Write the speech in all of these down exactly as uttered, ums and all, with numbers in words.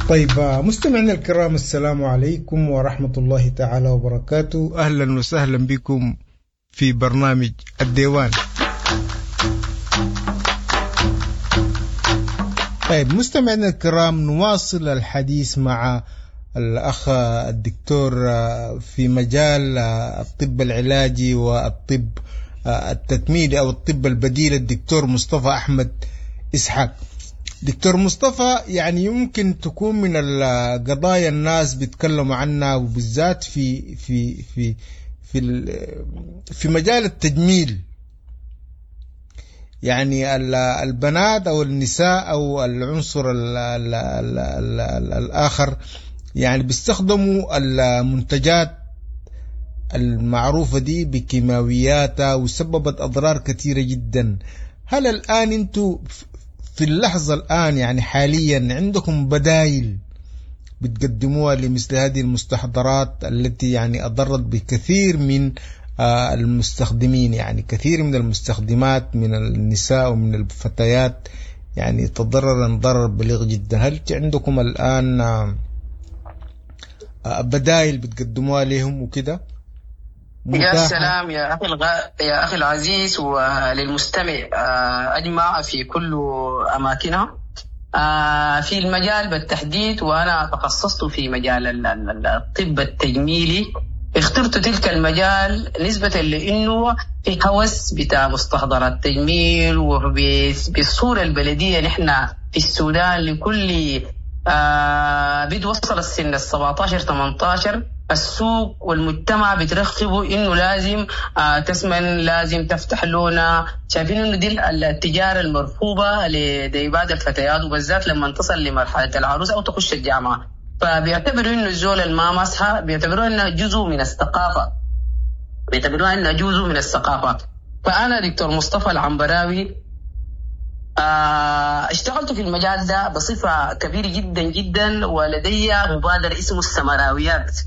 طيب مستمعينا الكرام، السلام عليكم ورحمة الله تعالى وبركاته. أهلا وسهلا بكم في برنامج الديوان. طيب مستمعينا الكرام، نواصل الحديث مع الأخ الدكتور في مجال الطب العلاجي والطب التكميلي أو الطب البديل، الدكتور مصطفى أحمد إسحاق. دكتور مصطفى، يعني يمكن تكون من القضايا الناس بيتكلموا عنها، وبالذات في في في في في مجال التجميل، يعني البنات أو النساء أو العنصر ال ال ال ال ال الآخر يعني بيستخدموا المنتجات المعروفة دي بكيماوياتها وسببت أضرار كثيرة جدا. هل الآن أنتوا في اللحظة الآن يعني حاليا عندكم بدائل بتقدموها لمثل هذه المستحضرات التي يعني أضرت بكثير من المستخدمين، يعني كثير من المستخدمات من النساء ومن الفتيات يعني تضررا ضرر بليغ جدا؟ هل عندكم الآن بدائل بتقدموها لهم وكده؟ يا سلام يا أخي الغ... يا أخي العزيز وللمستمع أجمع في كل أماكنها في المجال بالتحديد، وأنا تخصصت في مجال الطب التجميلي. اخترت تلك المجال نسبة لأنه في هوس بتاع مستحضرات تجميل، وبالصورة البلدية نحن في السودان لكل آه بتوصل السن السبعة عشر ثمانية عشر السوق والمجتمع بترغبوا انه لازم آه تسمن، لازم تفتح لونها. شايفين انه دي التجارة المرفوضه لبعض الفتيات، وبالذات لما تصل لمرحلة العروس او تخش الجامعة، فبيعتبروا انه الزول الما مسحه بيعتبروها انها جزء من الثقافة، بيعتبروها انها جزء من الثقافة. فانا دكتور مصطفى العنبراوي اشتغلت في المجال ده بصفة كبيرة جدا جدا، ولدي مبادرة اسمه السمراويات.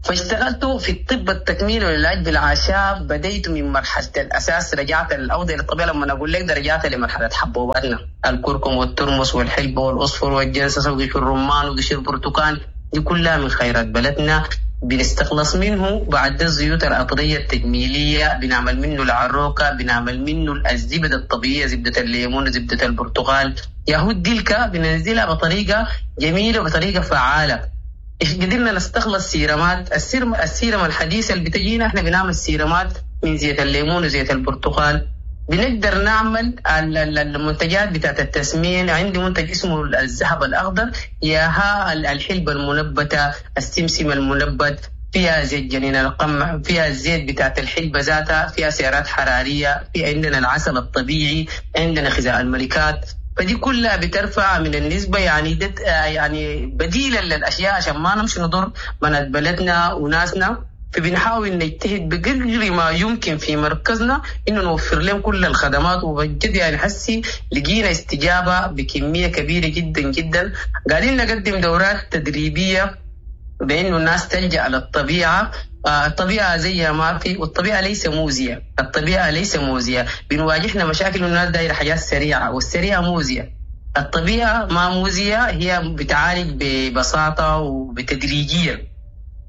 فاشتغلت في الطب التكميلي والعلاج بالاعشاب. بديت من مرحلة الاساس، رجعت الاوضة للطبيعة. لما اقول لك رجعت لمرحلة حبوباتنا، الكركم والترمس والحلبه والاصفر والجنسس وقشر الرمان وقشر البرتقال، دي كلها من خيرات بلدنا، بنستخلص منه بعد الزيوت العطريه التجميلية، بنعمل منه العروكه، بنعمل منه الزبدة الطبيعية، زبدة الليمون وزبده البرتقال. ياهود ديلكا بننزلها بطريقة جميلة وبطريقة فعاله. قدرنا نستخلص سيرمات، السيرم السيرم الحديثة اللي بتجينا احنا بنعمل سيرمات من زيت الليمون وزيت البرتقال. بنقدر نعمل المنتجات بتاعت التسمين. عندي منتج اسمه الذهب الاخضر، ياها الحلبة المنبته، السمسم المنبت، فيها زيت جنين القمح، فيها الزيت بتاعت الحلبة ذاتها، فيها سعرات حرارية، في عندنا العسل الطبيعي، عندنا خزاء الملكات. فدي كلها بترفع من النسبة، يعني دت يعني بديلا للأشياء عشان ما نمشي نضر بنات بلدنا وناسنا. فبنحاول نجتهد بقدر ما يمكن في مركزنا إنه نوفر لهم كل الخدمات، وبجد يعني حسي لقينا استجابة بكمية كبيرة جدا جدا. قاعدين نقدم دورات تدريبية بإنه الناس تلجأ للطبيعة. الطبيعة زيها ما في، والطبيعة ليس موزية، الطبيعة ليس موزية. بنواجهنا مشاكل الناس دايرة حاجات سريعة، والسريعة موزية. الطبيعة ما موزية، هي بتعالج ببساطة وبتدريجية.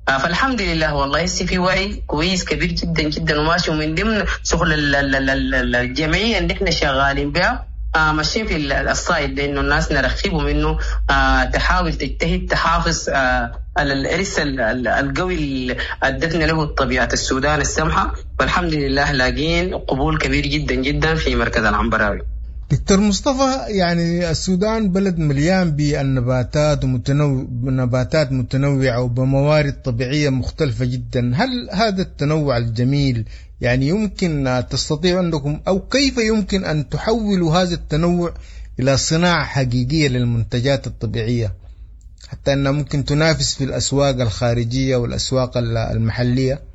فالحمد لله والله هسه في وعي كويس كبير جدا جدا وماشي. ومن ضمن شغل الجمعية اللي احنا شغالين بها آه ماشيين في الصايد، لانه الناس نرغبهم انه آه تحاول تجتهد تحافظ آه على الارث القوي اللي ادتنا له طبيعة السودان السمحة. والحمد لله لاقين قبول كبير جدا جدا في مركز العنبراوي. دكتور مصطفى، يعني السودان بلد مليان بالنباتات ومتنوع، نباتات متنوعة وبموارد طبيعية مختلفة جدا. هل هذا التنوع الجميل يعني يمكن تستطيع عندكم أو كيف يمكن أن تحولوا هذا التنوع إلى صناعة حقيقية للمنتجات الطبيعية حتى أنها ممكن تنافس في الأسواق الخارجية والأسواق المحلية؟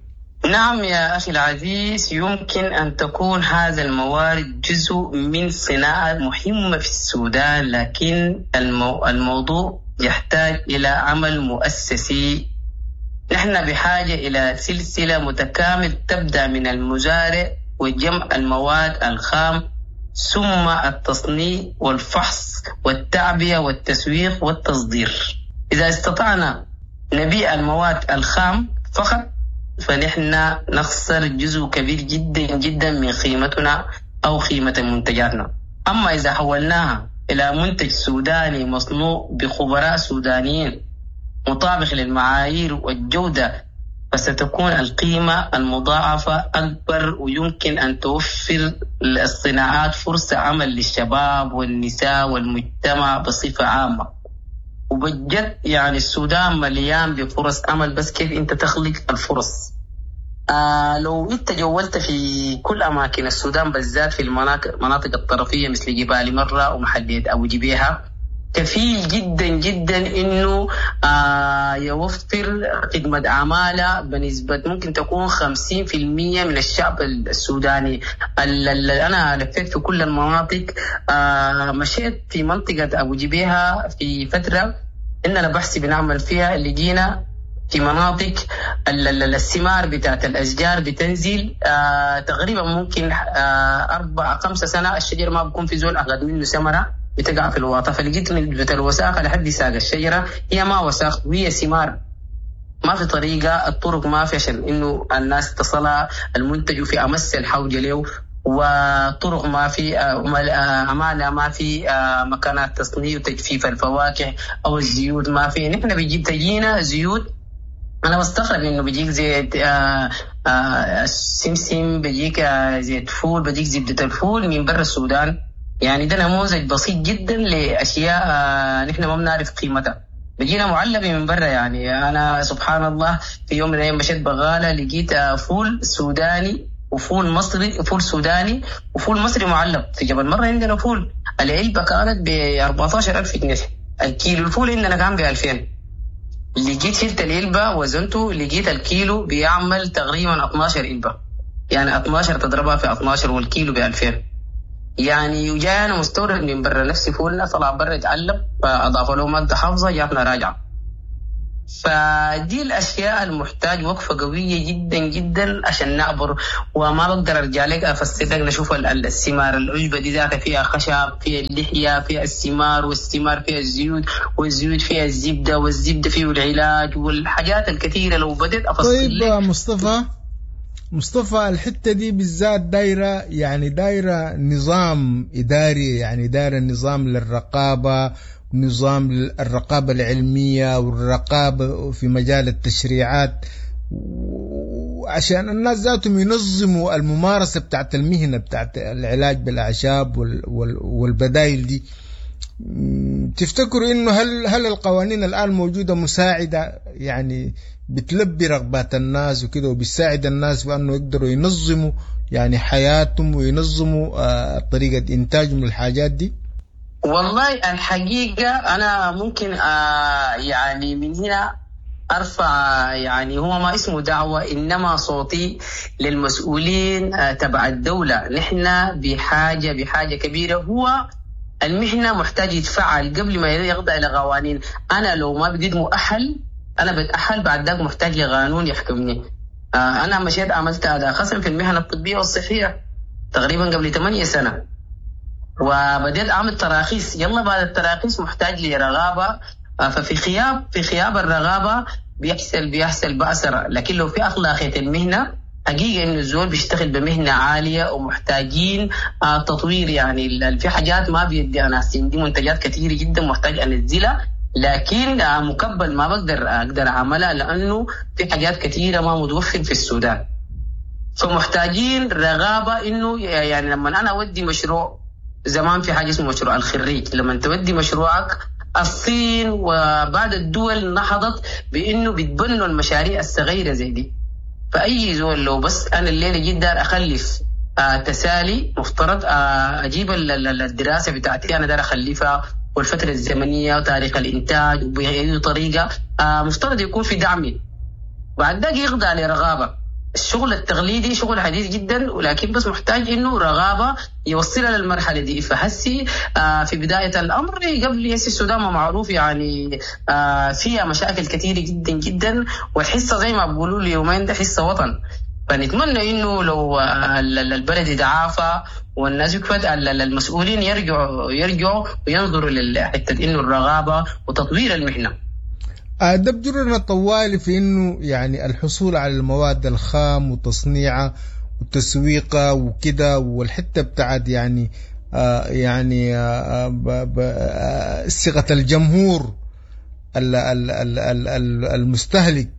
نعم يا أخي العزيز، يمكن أن تكون هذا الموارد جزء من صناعة مهمة في السودان، لكن المو... الموضوع يحتاج إلى عمل مؤسسي. نحن بحاجة إلى سلسلة متكامل تبدأ من المزارع وجمع المواد الخام، ثم التصنيع والفحص والتعبئة والتسويق والتصدير. إذا استطعنا نبيع المواد الخام فقط فنحن نخسر جزء كبير جدا جدا من قيمتنا أو قيمة منتجاتنا. أما إذا حولناها إلى منتج سوداني مصنوع بخبراء سودانيين مطابق للمعايير والجودة، فستكون القيمة المضاعفة أكبر، ويمكن أن توفر الصناعات فرصة عمل للشباب والنساء والمجتمع بصفة عامة. وبجد يعني السودان مليان بفرص عمل، بس كيف أنت تخلق الفرص. آه لو أنت جولت في كل أماكن السودان، بالذات في المناطق الطرفية مثل جبال مرة ومحلية أبو جبيهة، كفيل جدا جدا إنه آه يوفر خدمة عمالة بنسبة ممكن تكون خمسين في المية من الشعب السوداني. اللي أنا لفيت في كل المناطق، آه مشيت في منطقة أبو جبيهة في فترة إننا بحث بنعمل فيها، اللي جينا في مناطق الثمار بتاعت الأشجار بتنزل آه تقريبا ممكن آه أربع خمسة سنة الشجر ما بكون في زول أخذ منه ثمرة، بتقع في الواطة. فلقيت نسبة الوساخة لحد ساق الشجرة هي ما وساخ وهي ثمار، ما في طريقة، الطرق ما في عشان إنه الناس تصلها المنتج في أمس الحوجة له، وطرق ما في، أمانة ما في، مكانات تصنيع وتجفيف الفواكه أو الزيوت ما في. نحن بيجيب تجينا زيوت، أنا بستغرب إنه بيجيك زيت آآ آآ السمسم، بيجيك زيت فول، بيجيك زبدة الفول من برا السودان. يعني ده نموذج بسيط جدا لأشياء نحن ما بنعرف قيمتها، بيجينا معلبة من برا. يعني أنا سبحان الله في يوم من الأيام مشيت بغالة لقيت فول سوداني وفول مصري، فول سوداني وفول مصري معلب. في جبل مرة عندنا فول العلبة كانت ب أربعتاشر ألف جنيه، الكيلو الفول عندنا كان ب ألفين. لقيت شلت العلبة وزنته، لقيت الكيلو بيعمل تقريبا اتناشر علبة، يعني اتناشر تضربها في اتناشر والكيلو ب ألفين. يعني وجانا مستورد من برا، نفسي فولنا طلع برا يتعلب، فأضاف له مادة حافظة جاتنا راجعة. فدي الأشياء المحتاج وقفة قوية جدا جدا عشان نعبر. وما بقدر أرجع لك أفسر لك، نشوف الثمار العشبة دي ذاتها فيها خشب، فيها اللحية، فيها الثمار، والثمار فيها الزيوت، والزيوت فيها الزبدة، والزبدة فيه العلاج والحاجات الكثيرة. لو بدأت أفصل طيب لك. مصطفى مصطفى الحتة دي بالذات دايرة، يعني دايرة نظام إداري، يعني دايرة نظام للرقابة، نظام الرقابة العلمية والرقابة في مجال التشريعات، وعشان الناس ذاتهم ينظموا الممارسة بتاعت المهنة بتاعت العلاج بالأعشاب والبدائل دي. تفتكروا إنه هل هل القوانين الآن موجودة مساعدة، يعني بتلبي رغبات الناس وكده، وبتساعد الناس بأنه يقدروا ينظموا يعني حياتهم وينظموا طريقة إنتاجهم للحاجات دي؟ والله الحقيقة أنا ممكن آه يعني من هنا أرفع، يعني هو ما اسمه دعوة إنما صوتي للمسؤولين آه تبع الدولة. نحن بحاجة بحاجة كبيرة، هو المهنة محتاج يتفعل قبل ما يخضع لقوانين. أنا لو ما بقيت مؤهل، أنا بتأهل بعد ذاك محتاج لقانون يحكمني. آه أنا مشيت عملت أداء خصم في المهنة الطبية والصحية تقريبا قبل ثمانية سنة، وبدأت أعمل تراخيص. يلا بعد التراخيص محتاج لرغابة، ففي خياب في خياب الرغابة بيحصل بيحصل بأسرة. لكن لو في أخلاقية المهنة حقيقة إنه الزول بيشتغل بمهنة عالية ومحتاجين تطوير. يعني في حاجات ما بيدي أنا عندي منتجات كثيرة جدا محتاج أنزلها، لكن مكبل ما بقدر أقدر أعملها لأنه في حاجات كثيرة ما متوفر في السودان. فمحتاجين رغابة إنه يعني لما أنا أودي مشروع، زمان في حاجة اسمه مشروع الخريج، لما تودي مشروعك الصين وبعض الدول نهضت بإنه بيتبنوا المشاريع الصغيرة زي دي. فأي زول لو بس أنا الليلة جيت دار أخلف آه تسالي، مفترض آه أجيب الدراسة بتاعتي أنا دار أخلفها والفترة الزمنية وتاريخ الإنتاج وبأي طريقة، آه مفترض يكون في دعمي. بعد ذاك يخضع لرغابة. الشغل التقليدي شغل حديث جدا، ولكن بس محتاج انه رغابه يوصلها للمرحله دي. فهسي آه في بدايه الامر قبل هسي السودان ما معروف يعني آه فيها مشاكل كثيره جدا جدا، والحصه زي ما بيقولوا اليومين ده حصه وطن. فنتمنى انه لو البلد يتعافى والناس يكفت، المسؤولين يرجعوا يرجعوا وينظروا لحته انه الرغابه وتطوير المهنة. ده بجرنا طوالي في انه يعني الحصول على المواد الخام وتصنيعها وتسويقها وكده، والحتة بتاعت يعني آه يعني آه ثقة الجمهور المستهلك،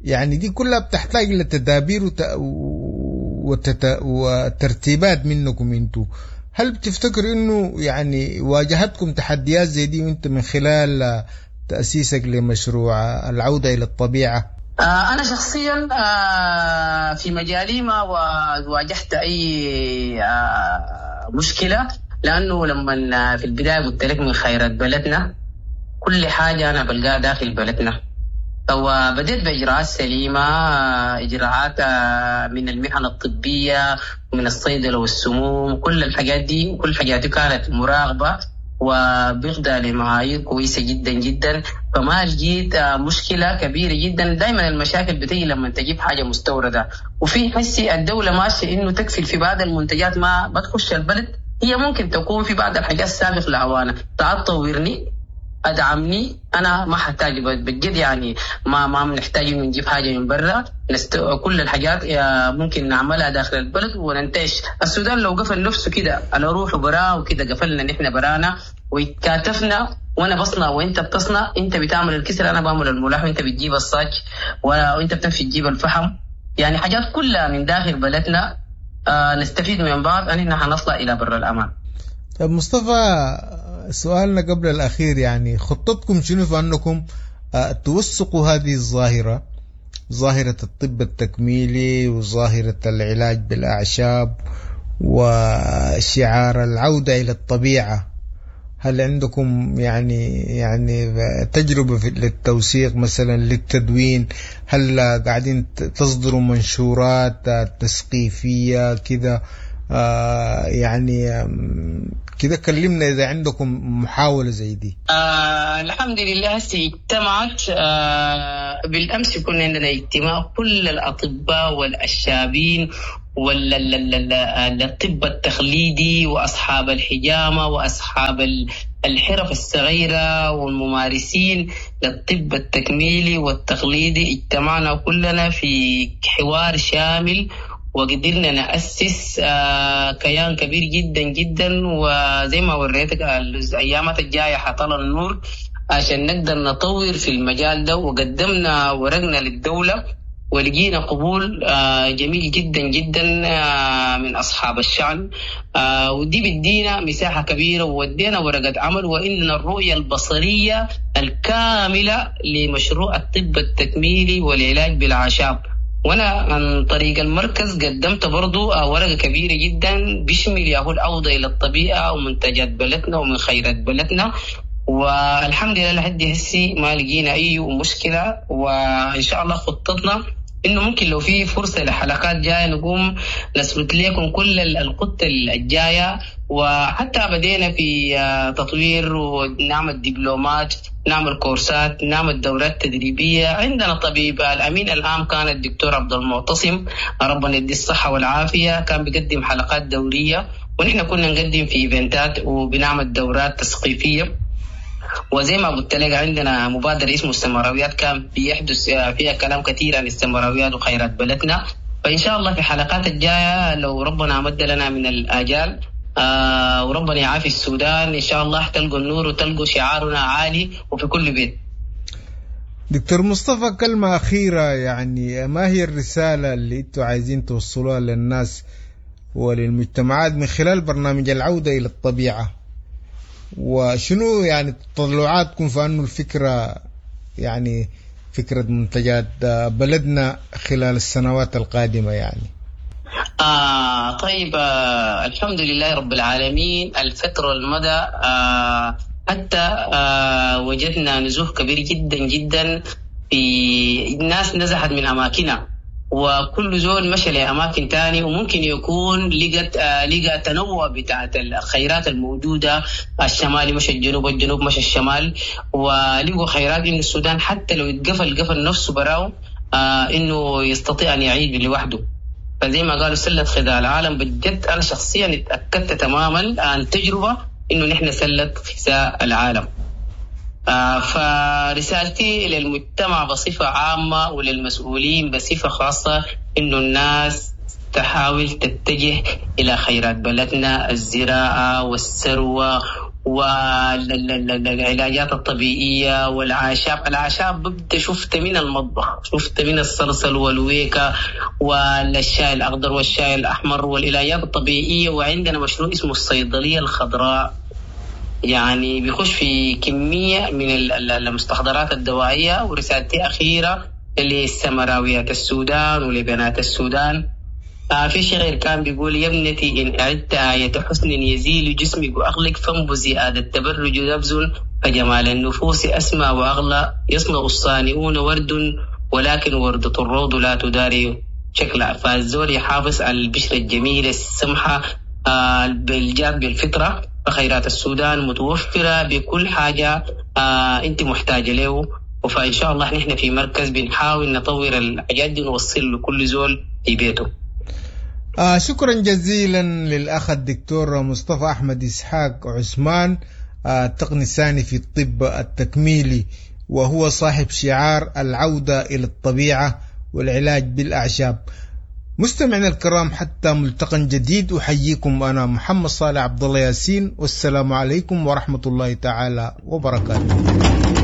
يعني دي كلها بتحتاج لتدابير وت... وترتيبات منكم انتو. هل بتفتكر انه يعني واجهتكم تحديات زي دي وانت من خلال تأسيسك لمشروع العودة إلى الطبيعة؟ آه أنا شخصيا آه في مجالي ما واجهت أي آه مشكلة، لأنه لما في البداية قلت لك من خيرات بلدنا كل حاجة أنا بلقاها داخل بلدنا. وبدأت بإجراءات سليمة، إجراءات من المهن الطبية ومن الصيدلة والسموم، كل الحاجات دي وكل الحاجات دي كانت مراقبة وبيخضع لمعايير كويسة جدا جدا. فما لقيت مشكلة كبيرة جدا. دائما المشاكل بتيجي لما تجيب حاجة مستوردة، وفي حسي الدولة ماشية إنه تكفل في بعض المنتجات ما بتخش البلد، هي ممكن تكون في بعض الحاجات سابق لأوانها. تعال طورني ادعمني، انا ما حتاج بجد، يعني ما ما بنحتاج انه نجيب حاجة من برا، نست... كل الحاجات ممكن نعملها داخل البلد وننتعش. السودان لو قفل نفسه كده على روحه براه وكده، قفلنا نحن برانا وتكاتفنا، وانا بصنع وانت بتصنع، انت بتعمل الكسر انا بعمل الملاح، وانت بتجيب الصاج وانت بتمشي تجيب الفحم، يعني حاجات كلها من داخل بلدنا آه نستفيد من بعض، ان حنطلع الى بر الامان. طب مصطفى، سؤالنا قبل الأخير، يعني خطتكم شنو في أنكم توثقوا هذه الظاهرة، ظاهرة الطب التكميلي وظاهرة العلاج بالأعشاب وشعار العودة إلى الطبيعة؟ هل عندكم يعني يعني تجربة في للتوثيق مثلا، للتدوين؟ هل قاعدين تصدروا منشورات تثقيفية كده؟ آه يعني كده كلمنا إذا عندكم محاولة زي دي. آه الحمد لله هسه اجتمعت آه بالأمس، كنا عندنا اجتماع كل الأطباء والأشابين والطب التقليدي وأصحاب الحجامة وأصحاب الحرف الصغيرة والممارسين للطب التكميلي والتقليدي. اجتمعنا كلنا في حوار شامل وقدرنا نأسس كيان كبير جدا جدا، وزي ما وريتك الأيامات الجاية حطلع النور عشان نقدر نطور في المجال ده. وقدمنا ورقنا للدولة ولقينا قبول جميل جدا جدا من أصحاب الشأن، ودي بدينا مساحة كبيرة وودينا ورقة عمل، وإننا الرؤية البصرية الكاملة لمشروع الطب التكميلي والعلاج بالأعشاب. وانا عن طريق المركز قدمت برضو ورقة كبيرة جدا بيشمل ياهو العودة إلى الطبيعة ومنتجات بلدنا ومن خيرات بلدنا، والحمد لله لحد هسي ما لقينا أي مشكلة. وإن شاء الله خطتنا إنه ممكن لو في فرصة لحلقات جاية نقوم نثبت لكم كل الخطة الجاية. وحتى بدينا في تطوير ونعمل دبلومات، نعمل كورسات، نعمل دورات تدريبية. عندنا طبيب الأمين العام كان الدكتور عبد المعتصم، ربنا يديه الصحة والعافية، كان بيقدم حلقات دورية، ونحن كنا نقدم في إيفنتات وبنعمل دورات تثقيفية. وزي ما قلت لك عندنا مبادرة اسمه السمراويات، كان بيحدث فيها كلام كثير عن السمراويات وخيرات بلدنا. فإن شاء الله في حلقات الجاية لو ربنا مد لنا من الآجال آه وربنا يعافي السودان إن شاء الله تلقوا النور وتلقوا شعارنا عالي وفي كل بيت. دكتور مصطفى، كلمة أخيرة، يعني ما هي الرسالة اللي انتوا عايزين توصلوها للناس وللمجتمعات من خلال برنامج العودة إلى الطبيعة؟ وشنو يعني تطلعاتكم في أنه الفكرة، يعني فكرة منتجات بلدنا خلال السنوات القادمة يعني؟ آه طيب، آه الحمد لله رب العالمين. الفترة المدى آه حتى آه وجدنا نزوح كبير جدا جدا، في الناس نزحت من أماكنها وكل زول مشى لأماكن تاني، وممكن يكون لقت آه لقى تنوع بتاعت الخيرات الموجودة، الشمالي مشى الجنوب والجنوب مشى الشمال، ولقوا خيرات إن السودان حتى لو اتقفل قفل نفسه براو آه إنه يستطيع أن يعيد لوحده. فزي ما قالوا سلة غذاء العالم، بجد أنا شخصيا اتأكدت تماما عن تجربة إنه نحن سلة غذاء العالم. آه فرسالتي للمجتمع بصفة عامة وللمسؤولين بصفة خاصة إنه الناس تحاول تتجه إلى خيرات بلدنا، الزراعة والثروة والعلاجات الطبيعية والأعشاب. الأعشاب ببدأ شفت من المطبخ، شفت من الصلصل والويكة والشاي الأخضر والشاي الأحمر والعلاجات الطبيعية. وعندنا مشروع اسمه الصيدلية الخضراء، يعني بيخش في كمية من المستحضرات الدوائية. ورسالتي أخيرة للسمراويات السودان ولبنات السودان، آه في شعر كان بيقول: يا ابنتي إن أعدت آية حسن يزيل جسمك وأغلق، فانبذي هذا التبرج نبذ، فجمال النفوس أسمى وأغلى، يصنع الصانعون ورد ولكن وردة الروض لا تداري شكلها. فالزول يحافظ على البشرة الجميلة السمحة آه بالجاب بالفطرة. فخيرات السودان متوفرة بكل حاجة آه أنت محتاجة له. فإن شاء الله نحن في مركز بنحاول نطور الحاجات دي ونوصل لكل زول في بيته. آه شكرا جزيلا للأخ الدكتور مصطفى أحمد إسحاق عثمان، آه التقني الثاني في الطب التكميلي، وهو صاحب شعار العودة إلى الطبيعة والعلاج بالأعشاب. مستمعينا الكرام، حتى ملتقى جديد أحييكم أنا محمد صالح عبد الله ياسين، والسلام عليكم ورحمة الله تعالى وبركاته.